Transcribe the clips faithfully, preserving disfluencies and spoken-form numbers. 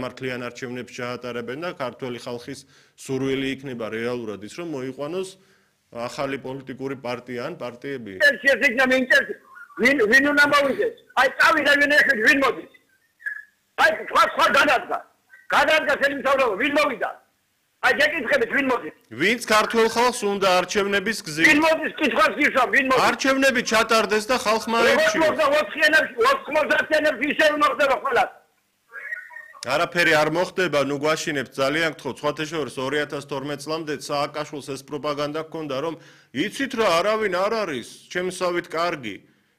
მართლიან არჩევნებს ჩაატარებენ და ქართველი ხალხის სურვილი იქნება რეალურად ის რომ მოიყვანოს ახალი პოლიტიკური პარტია ან პარტიები. ვინ ვინ უნდა მოვიდეს? აი წავიდა ვინ ეს ვინ მოდის? აი სხვა სხვა გადადგა. გადადგა ხელმძღვანელობა ვინ მოვიდა? აი შეკითხებით ვინ მოდის? ვინც ქართულ ხალხს უნდა არჩევნების გზით. ვინ მოდის? კითხვას გისვა ვინ მოდის? არჩევნები ჩატარდეს და ხალხმა აირჩიოს. ოთხმოცდაათიანებს ისე მოხდება ყველა. არაფერი არ მოხდება, ნუ გვაშინებთ ძალიან გთხოვთ, სხვათა შორის ორი ათას თორმეტ წლამდე სააკაშვილს ეს პროპაგანდა ჰქონდა, რომ იცით რა, არავინ არ არის, ჩემსავით კარგი.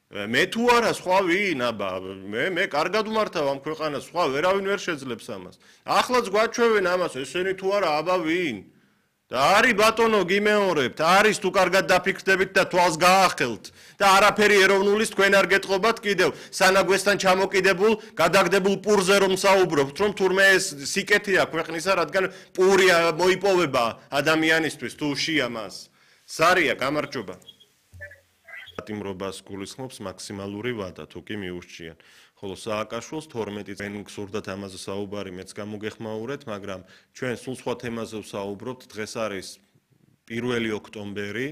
მე თუ არა, სხვა ვინ, აბა, მე მე კარგად ვმართავ ამ ქვეყანას, სხვა ვერავინ ვერ შეძლებს ამას. ახლაც გვაჩვევენ ამას, ესენი თუ არა, აბა ვინ? და არის ბატონო გიმეორებთ, არის თუ კარგად დაფიქრდებით და თვალს გაახელთ და არაფერი ეროვნულის თქვენ არ გეტყობათ კიდევ სანაგვესთან ჩამოკიდებულ, გადაგდებულ პურზე რომ საუბრობთ, რომ თურმე ეს სიკეთეა ქვეყნისა, რადგან პური მოიპოვება ადამიანისთვის თუ უშია მას. სარია, გამარჯობა. პატიმრობას გულისხმობს მაქსიმალური ვადა, თუ კი მიურჩიან. ხოლო სააკაშვილს თორმეტი წელი გსურდათ ამაზე საუბარი, მეც გამოგეხმაურეთ, მაგრამ ჩვენ სულ სხვა თემაზე ვსაუბრობთ. დღეს არის პირველი ოქტომბერი.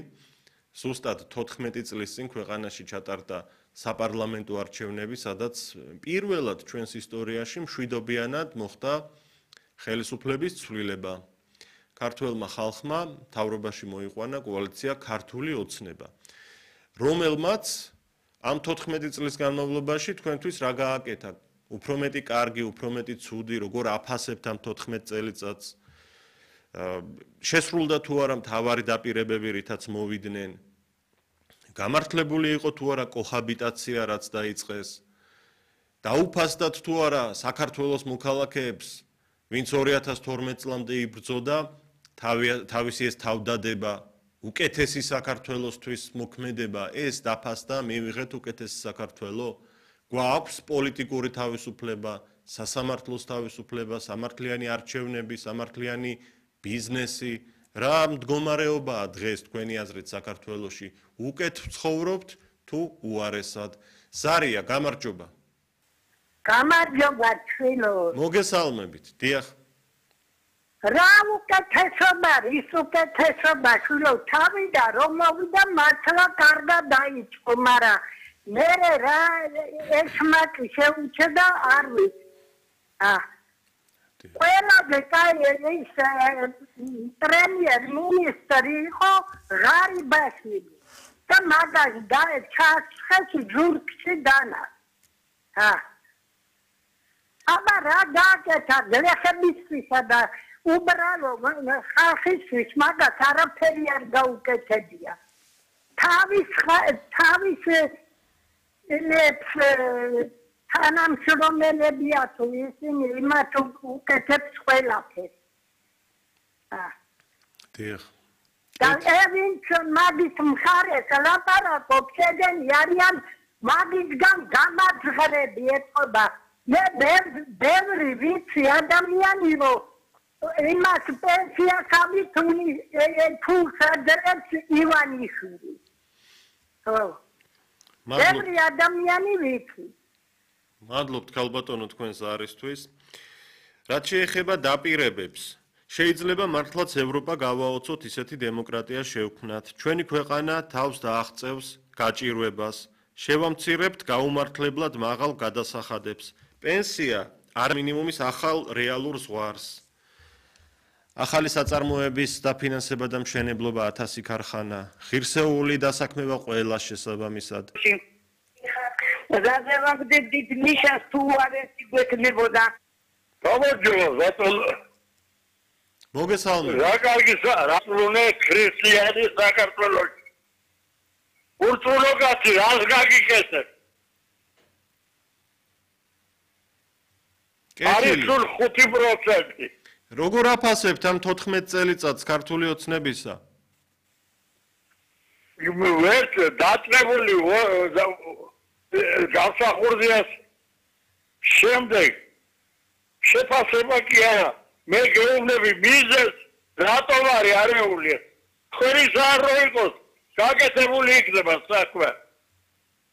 ზუსტად თოთხმეტი წლის წინ ქვეყანაში ჩატარდა საპარლამენტო არჩევნები, სადაც პირველად ჩვენს ისტორიაში მშვიდობიანად მოხდა ხელისუფლების ცვლილება. ქართველმა ხალხმა მთავრობაში მოიყვანა კოალიცია ქართული ოცნება, რომელმაც ამ თოთხმეტი წლის განმავლობაში თქვენთვის რა გააკეთა? უფრო მეტი კარგი, უფრო მეტი ცუდი, როგორ აფასებთ ამ თოთხმეტ წელიწადს? შესრულდა თუ არა მთავარი დაპირებები, რითაც მოვიდნენ? გამართლებული იყო თუ არა კოჰაბიტაცია, რაც დაიწყეს? დაუფასდათ თუ არა საქართველოს მოქალაქეებს, ვინც ორი ათას თორმეტ წლამდე იბრძოდა თავისი ეს თავდადება? უკეთესი საქართველოსთვის მოქმედება ეს დაფასდა, მივიღეთ უკეთესი საქართველო? გვაქვს პოლიტიკური თავისუფლება, სასამართლოს თავისუფლება, სამართლიანი არჩევნები, სამართლიანი ბიზნესი. რა მდგომარეობაა დღეს თქვენი აზრით საქართველოში? უკეთ ვცხოვრობთ თუ უარესად? სარია, გამარჯობა. გამარჯობა ჩვენო. მოგესალმებით, დიახ. რა უკეთესობა, ის უკეთესობა, შვილო, თავიდა რომ მოვიდა მართლა კარგად დაიწყო, მაგრამ მე რა ეს მაკი შეუჩედა არ ვიცი. აა ყველაფერი კაი ის პრემიერ მინისტრი იყო ღარიბაშვილი და მაგას და ჩაცხეს ჯურკში დანა. აა აბა რა გაკეთა გლეხებისისა და უბრალო ხალხისთვის მაგას არაფერი არ გაუკეთებია. თავის თავის ელებს თანამშრომელებია თუ ისინი იმათ უკეთებს ყველაფერს. დიახ. და ევინც მაგის მხარეს ლაპარაკობს, შეგენი არიან მაგისგან გამაძღრები ეთყობა. მე ბევრი ვიცი ადამიანი რომ იმას პენსიას ამითუნი ფულს ადრებს ივანიშვილი. ხო. ბევრი ადამიანი ვიცი. მადლობთ ქალბატონო თქვენს არისთვის. რაც შეეხება დაპირებებს, შეიძლება მართლაც ევროპა გავაოცოთ ისეთი დემოკრატია შევქმნათ. ჩვენი ქვეყანა თავს დააღწევს გაჭირვებას, შევამცირებთ გაუმართლებლად მაღალ გადასახადებს. პენსია არ მინიმუმის ახალ რეალურ ზღვარს. ახალი საწარმოების დაფინანსება და მშენებლობა ათასი ქარხანა, ღირსეული დასაქმება ყველას შესაბამისად. ზაზევაგდებით ნიშას თუ არესი გვექნებოდა. გამარჯობა, ბატონო. მოგესალმებით. რა კარგი რასრულე ქრისტიანი საქართველოში. ურწმუნოა რას გაგიკეთებ? არის სულ ხუთი პროცენტი. როგორ აფასებთ ამ თოთხმეტ წელიწადს ქართული ოცნებისა? ვერც დაწყებული გამსახურდიას შემდეგ შეფასება კი არა. მე გეუბნები მიზეს რატომ არის არეული? ხრის არ რო იყოს გაკეთებული იქნება საქმე.